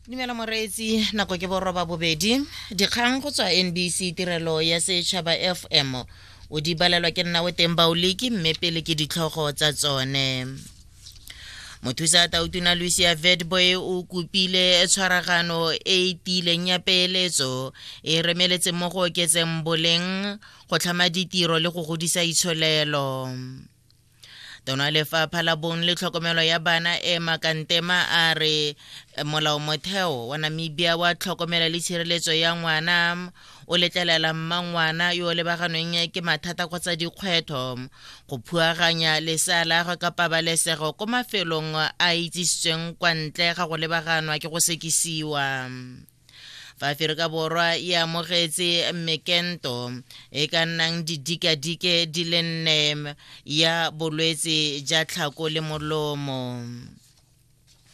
Dumela moreetsi, nako ke boroba bobedi. Dikgang go tswa NBC tirelo ya setšhaba FM. O di balelwa ke nna o teng Baoliki mme pele ke ditlhogo tsa tsone. Mothusa tautona Lucia Vetboy o kopile tshwaragano e e tiileng ya peeletso e remeletse mo go oketseng boleng go tlhama ditiro le go godisa itsholelo. Tona lefapha la bong le tlhokomelo ya bana Emma Kantema a re molaomotheo wa Namibia wa tlhokomelo le tshireletso ya ngwana o letlelela mmangwana yo o lebaganweng ke mathata kgotsa dikgwetlho go phuaganya lesea la gagwe ka pabalesego ko mafelong a itsisitsweng kwa ntle ga go lebaganwa ke go sekisiwa. Fa Aferika Borwa e amogetse mekento e ka nnang didikadike di le nne ya bolwetse ja tlhako le molomo.